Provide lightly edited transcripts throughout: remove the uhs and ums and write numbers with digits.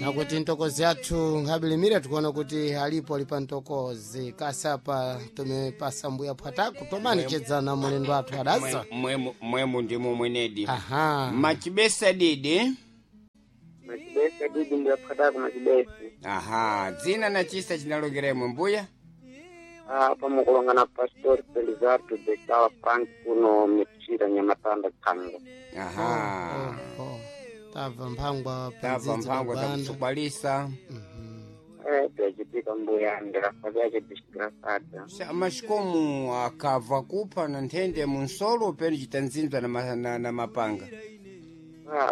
Nakuti ntokozi athu nkhabilimira tikuona kuti alipo ali pa ntokozi kasapa tumepasa mbuya phwatako tomanichedzana mulendo athu adaza. Mwemu ndimo mwenedi. Aha. Machibesa didi. Machibesa didi mbuya phwatako machibesa. Aha, dzina na chisa chinalokeremwe mbuya. Apa mukulongana Pastor Felizardo de Sawa Frank kuno Mchira Nyamatanda Kanga. Aha. Oh, oh. Tabva mphangwa Tabva pandzidzi mphangwa pabanda. takusukwalisa. Byachitika mbuya ndirafa byache disgrasada. Mashikomu akabva kupha na nthende munsolo penu chitanzinzwa na, na mapanga.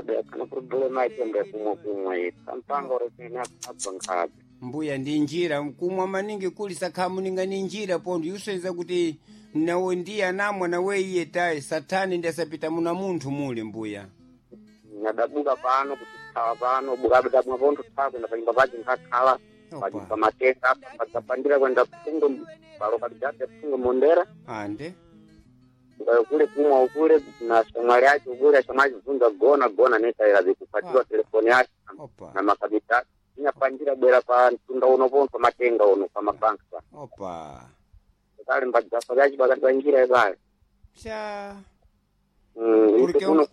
Byakana problema icho mbuya kumwe kumwe. Kampanga orosene akabva nkhabe. Mbuya ndi njira kumwa maningi kuli sakhamuninga ni njira pontho yuseza kuti nawe ndiye anamwa nawe iye tayi sathani ndi asapita muna munthu muli mbuya. Nyadabuka pano kutithawa pano bukabudabwa pontho thawa kwenda panyumba pache nkhakhala. Opa. Pamatenga apa padzapandira kwenda phungo palo palijabe phungo mondera. Ande. Ukayo kule kumwa ukule na shamwali yacho ukule shamwali zunza gona gona netaira zikupatiwa telefoni yake Opa. na makabita inyapanjira bwera pa mtunda uno ponto matenga uno pa mabanka pa Opa. kale mbadzafa lyachi pakati pa njira ipale. Cha. Ife kuno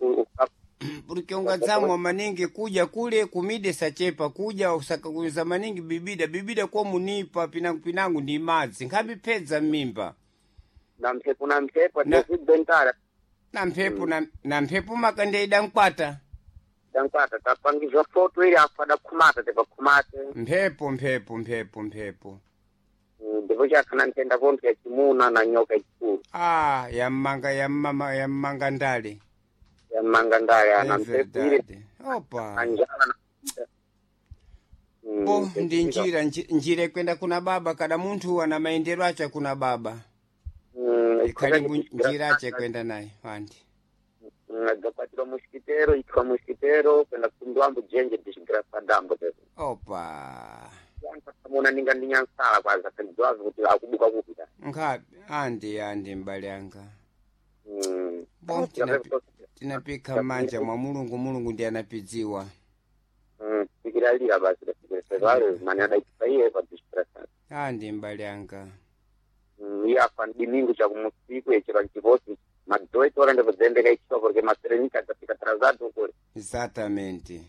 Porque ungadzamwa maningi kuja kule kumide sachepa kuja usakakuza maningi bibida bibida kwa munipa pinangu pinangu ndi madzi nkhambi phedza m'mimba. Na mphepo na mphepo Na- ndezibentala. Na mphepo na mphepo makandeida mkwata. Tankwata tapangizwa foto ili afa adakhumata tepakhumate. Mphepo mphepo mphepo mphepo. Ndipo chakhana nthenda pontho yachimuna na nyoka ikulu. Ah, yammanga yammama yammanga ndale. Yamanga ndale ana É mphepo ili verdade. Opa. anjala na Bo ndi njira njira ikwenda kuna baba kada munthu ana maendero ache kuna baba. Ikhali njira ache kwenda naye andi. Agapatira mosquiteiro itwa mosquiteiro kwenda kundwambo jenje disgraçadambo. Opa. Muna ninga ndinyansala kwaza kandiwazi kuti akubuka kupita. Nkhapi andi andi mbale anga. Bo tinapika m'manja mwa Mulungu, Mulungu ndi anapidziwa. Tikiralira basi tafikirasevale mani adaitwa iye pa disgraçada. Andi mbale anga. Iye afa dimingo chakumusiku echera nchiposi madoito ora ndipozembeka ichiwa porque maserenika adzafika atrasado kule. Exatamente.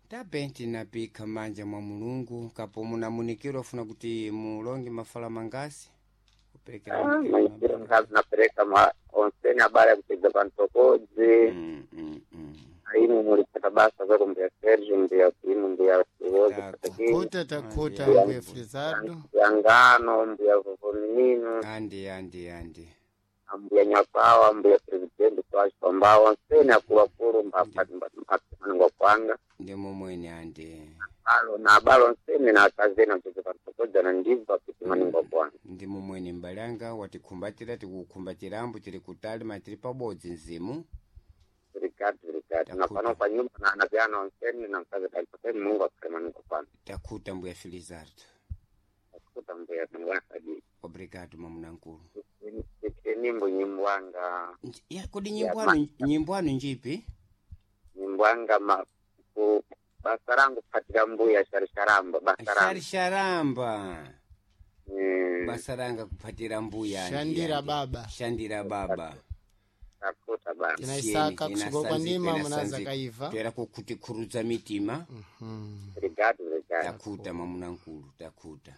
Tabe tinapika m'manja mwa Mulungu kapo munamunikiro afuna kuti mulonge mafala mangasi kuperekera munikiro Maitiro mabala. nkhazi napereka ma onseni abale akupedza pantokodzi. Ainu mulipata basa zako mbuya Sergio mbuya inu mbuya Siwozi. Tako. Patakini Khuta takhuta Andi. mbuya Felizardo. mbuya Ngano mbuya Vovominino Andi andi andi. mbuya Nyapawa mbuya Presidente Twachipambawa onseni akuluakulu mbapatimaningwa kwanga Ndi momwene andi. alo na abale onseni na akazeni amcheze pantokodzi na ndibva pitimaningwa kwanga. Ndi momwene mbale anga watikhumbatira tikukhumbatira tili kutali ma tili pabodzi mzimu. Obrigado, obrigado. Na Takhuta. pano pa nyumba na anavyana onseni na mkazi talipoteni Mungu akutemaningwa kwanga. Takhuta mbuya Felizardo. Akuta mbuya mngwana. Obrigado mamunankulu. Nimbo nyimbo anga. Ya kodi nyimbo anu nyimbo anu njipi? Nyimbo ma ku basa rangu kupatira mbuya sharisharamba basa rangu. Sharisharamba. Basa ranga kuphatira mbuya. Andi, Shandira andi. baba. Shandira baba. Takuta baba. Tinaisaka kusuka kwa ndima munaza kaiva. Toera kukutikhurudza mitima. Obrigado, obrigado. Takhuta mamunankulu takhuta.